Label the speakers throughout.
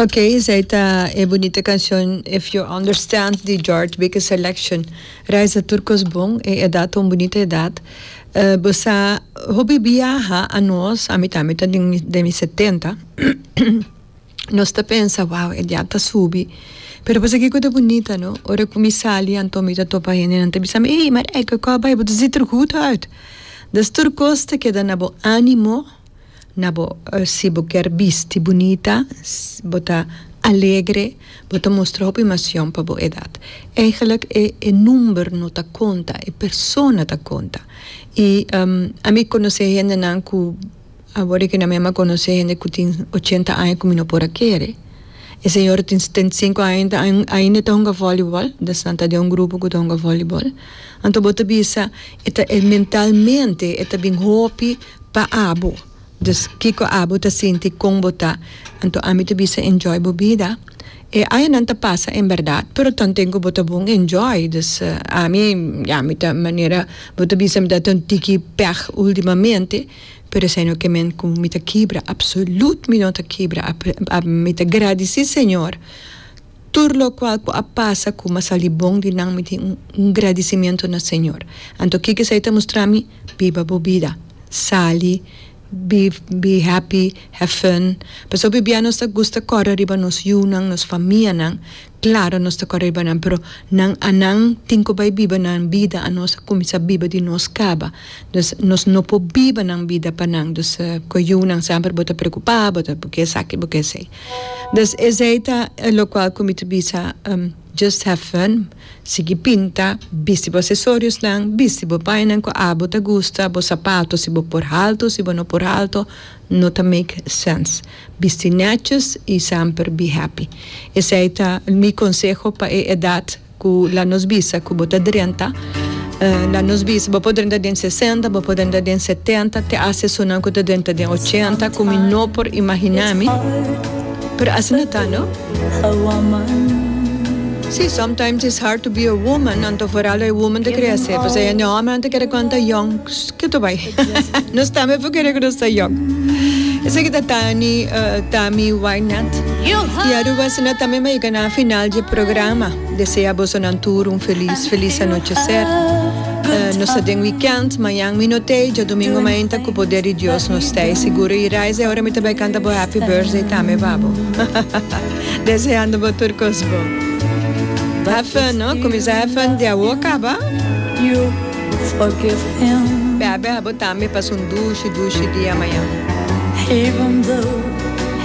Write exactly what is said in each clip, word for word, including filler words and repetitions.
Speaker 1: Ok, esey ta e bunita cancion If You Understand di George Baker Selection. Raiza, tur cos bon, e edad un bunita edad. Uh, bo hopi biaha anos, ami tambe ta den den setenta. Nos ta pensa, wow, edad ta subi. Pero bo kico ta bunita, no? Ora cu mi sali, anto mi ta topa hende, nan ta bisa mi, hey, maar ik ko bai, bo ziet er goed uit. Dus tur cos ta keda na bo animo, na bo uh, si bo kier bisti bunita, bo ta alegre, bo ta mustra hopi emotion pa bo edad. Eigenlijk e, e number no ta conta, e persona ta conta. Y um, ami conoce hende nan cu awor cu na mesma conoce hende cu tin ochenta aña cu mi no por a kere. E señor tin setenta y cinco aña, ainda ta hunga voleibol, dus nan ta den un grupo cu ta hunga voleibol. Anto bo ta bisa, e ta e mentalmente, e ta bin hopi pa abo. Dus kiko abo ta sinti, con bo ta. Anto ami ta bisa, enjoy bo bida. E añanan ta pasa en berdad, pero tanten cu bo ta bon, enjoy. Dus uh, ami, ja, mi ta manera, bo ta bisa mi ta un tiki pech ultimamente, pero esey no kiermen cu mi ta kibra, absoluut mi no ta kibra. Mi ta gradici Señor. Tur locual cu a pasa cu m'a sali bon di nan, mi tin un, un gradicimento na Señor. Anto kico esey ta mustra mi? Biba bo bida. Sali, be, be happy, have fun. Paso bibia nos ta gusta core riba nos yiunan, nos famianan. Claro, nos ta core riba nan, pero nan anan tin cu bay biba nan bida, anos cuminsa biba di nos caba. Dus nos no por biba nan bida pa nan. Dus uh, cu yiunan semper bo ta preocupa, bo ta porque esaki, porque esey. Dus esey ta locual cu mi ta bisa, um, just have fun. Sigui pinta, bisti bo accesorios nan, bisti bo pañanan cu abo ta gusta, bo sapato, si bo por halto, si bo no por halto, no ta make sense. Bisti netjes y semper be happy. Esey ta mi conseho pa e edad cu la nos bisa cu bo ta drenta. Uh, la nos bisa, bo por drenta den sesenta, bo por drenta den setenta, te hace sonan cu ta drenta den ochenta, cu mi no por imagina mi. Pero asina ta, no? Si, sometimes it's hard to be a woman, anto vooral a woman ta crece. Pues ey no, maar ta kere cuanta young, cu ta bay. Nos tambe por kere cu nos ta young. Esaki ta Tani, uh, Tammy Wynette. Y Aruba asina tambe m'a yega na final di programa. Desea boso tur un feliz, feliz anochecer. Uh, nos ta den weekend, mañan mi no tey, diadomingo mainta cu poder di Dios nos tey. Seguro y reise, ora mi tambe canta bo happy birthday tambe pa bo. Deseando bo tur cos bon. Have fun, no? Cuminsa have fun di awo caba.
Speaker 2: You forgive him.
Speaker 1: Bebe, abo tambe pasa un dushi, dushi dia mañan.
Speaker 2: Even though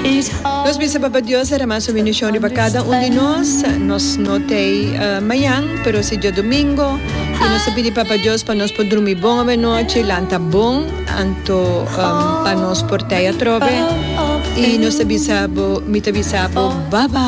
Speaker 2: he's hard.
Speaker 1: Nos bisa Papa Dios derama su bendicion riba cada un di nos. Nos no tey uh, mañan, pero si diadomingo. Y nos ta pidi Papa Dios pa nos por drumi bon anochi, lanta bon, anto um, pa nos por tey atrobe. Y nos ta bisa bo, mi ta bisa bo, bye bye.